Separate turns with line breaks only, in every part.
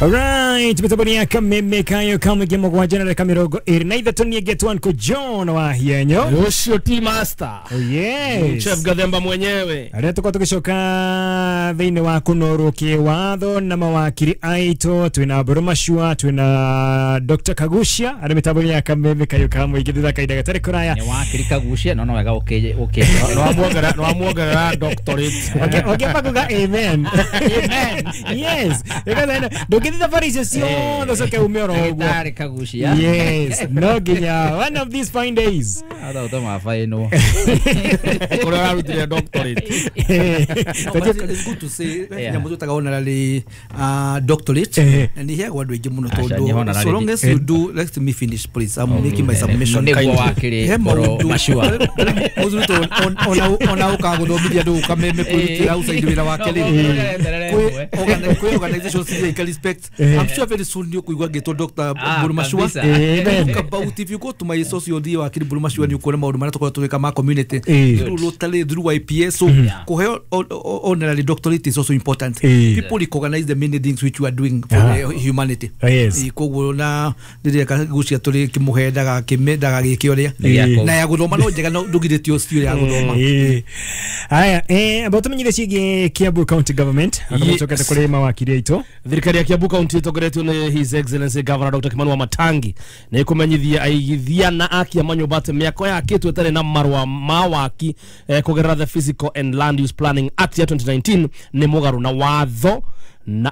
Alright, mitambo ya kameme kayo kamwe 7:23 niĩ getwo Uncle John wa Hienyo.
Ucio ti master.
Oh yes.
Chef Gathemba mwenyewe.
Arĩa tũkorwo tũgĩcoka thĩinĩ wa kũnorwo kĩwatho na mawakiri aitũ, twĩna Mbũrũ Machua, twĩna Dr. Kagucia arĩ mĩtambo ya kameme kayo kamwe thutha kahinda gatarĩ kũraya.
Nĩ wakiri Kagucia no no wega ũkĩ ũkĩ
No amuongerera doctorate.
Ũngĩamba kuga amen. Amen. Yes. Ndũngĩthiĩ thabarĩ icio ciothe ũcoke ume oro ũguo.
Ndagĩtarĩ Kagucia.
Yes, no nginya one of these fine days.
Atha ũtoma bainwo.
Kũrĩa ararutire doctorate.
No, but it's good to say nyamũ twĩtaga honorary doctorate na nĩ iheagwo andũ aingĩ mũno
Aca, nĩ
tondũ
honorary.
so long as you do, let me finish please, I'm making my submission.
Nĩguo wakiri
He
Mbũrũ
maũndũ
Machua.
mũthuri to ona ũkaga gũthomithia andũ ũkameme kwĩrutĩra outside wĩra wake rĩ, kwĩ organizations iria ika respect. I'm sure very soon nĩ ũkũigua ngĩtwo Dr. Mbũrũ Machua.
Kabisa.
Amen.
Talk about, if you go to my social media, wakiri Mbũrũ Machua, nĩ ũkuona maũndũ marĩa tũkoragwo tũgĩka ma community through Rotary, through YPS. So kũheo honorary doctorate is also important. People recognize the many things which you are doing for the humanity. Koguo na rĩrĩa Kagucia tũrĩ kĩmũhe ndagagĩke ũrĩa
Nĩ
na ya gũthoma no njega, no ndũgirĩtio cio ya gũthoma.
Haya, amba tũmenyithie ciĩgiĩ Kiambu County Government akamũcokete kũrĩ mawakiri aitũ.
Thirikari ya Kiambu County ĩtongoretio nĩ His Excellency Governor Dr. Kimani Wamatangi nĩ ĩkũmenyithia aigithia na akia manyũmba atĩ mĩako yakĩtwo ĩtarĩ na marũa ma waki kũgerera the Physical and Land Use Planning Act ya 2019 nĩ mũgarũ na watho na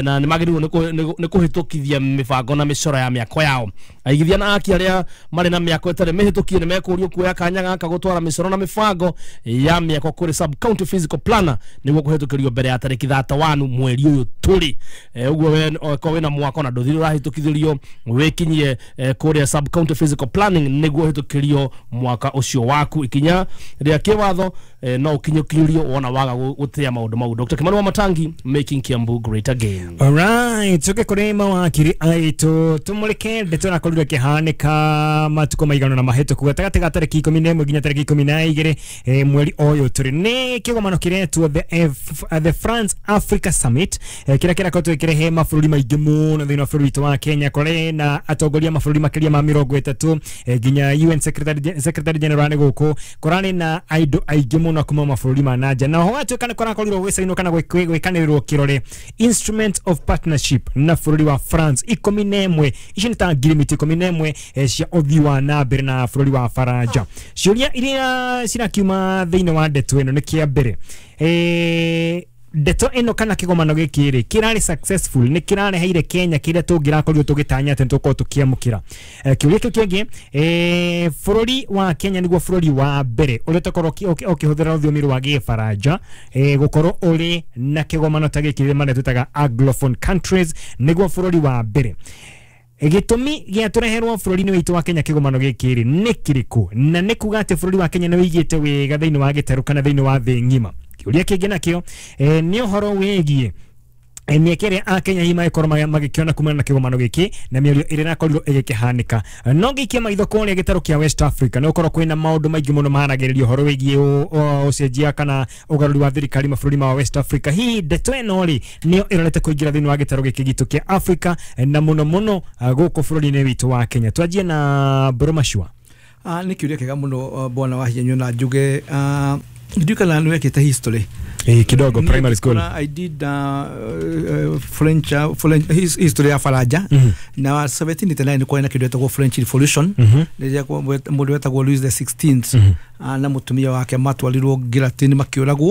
na nĩ magĩrĩirwo nĩ kũhĩtũkithia mĩbango na mĩcoro ya mĩako yao. Aigithia na aki arĩa marĩ na mĩako ĩtarĩ mĩhĩtũkie nĩ mekũrio kuoya kanya gaka gũtwara mĩcoro na mĩbango ya mĩako kũrĩ sub county physical planner nĩguo kũhĩtũkĩrio mbere ya tarĩki 31 mweri ũyũ tũrĩ. Ũguo we okorwo wĩna mwako na ndũthire ũrahĩtũkithĩrio, wĩkinyie kũrĩa sub county physical planning nĩguo ũhĩtũkĩrio mwaka ũcio waku. Ikinya rĩa kĩwatho no ũkinyũkinyũrio wona waga gũtĩa maũndũ mau. Dr. Kimani Wamatangi, making Kiambu great again.
Alright, tuke kũrĩ mawakiri aitũ tũmũrĩke ndeto ĩrakorirwo ĩkĩhanĩka matukũ maigana na mahĩtũku gatagatĩ ga tarĩki 11 nginya tarĩki 12 mweri ũyũ tũrĩ. Nĩ kĩgomano kĩretwo the France Africa Summit, kĩrĩa kĩrakoretwo gĩkĩrehe mabũrũri maingĩ mũno thĩinĩ wa bũrũri witũ wa Kenya, kũrĩ na atongoria mabũrũri makĩria ma 30, nginya UN Secretary General nĩ gũkũ, kũrarĩ na andũ aingĩ mũno kuma mabũrũri ma na nja, na ho gwatuĩka nĩ kũrakorirwo gwĩcainwo kana gwĩkanĩrĩrwo kĩrore instrument of partnership na bũrũri wa France 11. Ici nĩ ta ngirimiti 11 cia ũthii wa na mbere na bũrũri wa Faranja. Ciũria iria cirakiuma thĩinĩ wa ndeto ĩno nĩ kĩa mbere, ndeto ĩno kana kĩgomano gĩkĩ rĩ, kĩrarĩ successful? Nĩ kĩrareheire Kenya kĩrĩa tũngĩrakorirwo tũgĩtanya atĩ nĩtũgũkorwo tũkĩamũkĩra? Kĩũria kĩu kĩngĩ, bũrũri wa Kenya nĩguo bũrũri wa mbere ũrĩa ũtakorwo ũkĩhũthĩra rũthiomi rwa Gĩbaranja gũkorwo ũrĩ na kĩgomano ta gĩkĩ marĩa twĩtaga Anglophone countries, nĩguo bũrũri wa mbere. Gĩtũmi gĩa tũreherwo bũrũri-inĩ witũ wa Kenya kĩgomano gĩkĩ rĩ, nĩ kĩrĩkũ, na nĩ kuga atĩ bũrũri wa Kenya nĩ wĩigĩte wega thĩinĩ wa gĩtarũ kana thĩinĩ wa thĩ ng'ima? Kĩũria kĩngĩ nakĩo nĩ ũhoro wĩgiĩ mĩeke ĩrĩa akenya hihi magĩkorwo magĩkĩona kumana na kĩgomano gĩkĩ na mĩario ĩrĩa ĩrakorirwo ĩgĩkĩhanĩka. No ngĩikia maitho kũrĩa gĩtarũ kĩa West Africa, nĩ gũkorwo kwĩna maũndũ maingĩ mũno maharagĩrĩria ũhoro wĩgiĩ ũcenjia kana ũgarũri wa thirikari mabũrũri ma West Africa. Hihi ndeto ĩno rĩ, nĩyo ĩrorete kũingĩra thĩinĩ wa gĩtarũ gĩkĩ gitũ kĩa Africa na mũno mũno gũkũ bũrũri-inĩ witũ wa Kenya? Twanjie na Mbũrũ Machua.
Nĩ kĩũria kĩega mũno, bwana wa Hienyo, na njuge ndiũĩ kana nĩ wekĩte history.
Kidogo, primary school.
I did French history ya Faranja na 1789 kwarĩ na kĩndũ gĩtagwo French Revolution, rĩrĩa mũndũ wetagwo Louis the 16th na mũtumia wake matwarirwo guillotine makĩũragwo.